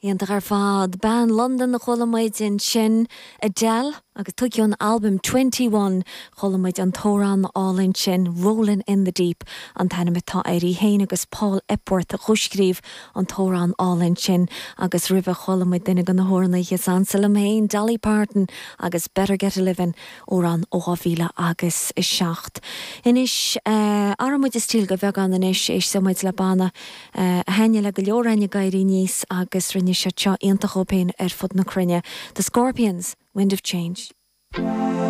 Iontach ar fad. Bean Londan a chuala muid ansin, Adele, agus tugtha ón albam Twenty One. Chuala muid an t-amhrán álainn sin, Rolling in the Deep an t-ainm atá air. Í féin agus Paul Epworth a chomhscríobh an t-amhrán álainn sin agus roimhe chuala muid duine de na hamhránaithe is ansa liom féin, Dolly Parton agus Better Get a Livin', amhrán ó 2000 agus 7. Anois, athróidh muid an stíl de bheagán anois, éistfidh muid le banna a thaitnigh le go leor againn ag éirí aníos agus rinne siad seo iontach dóibh féin ar fud na cruinne, The Scorpions, Wind of Change.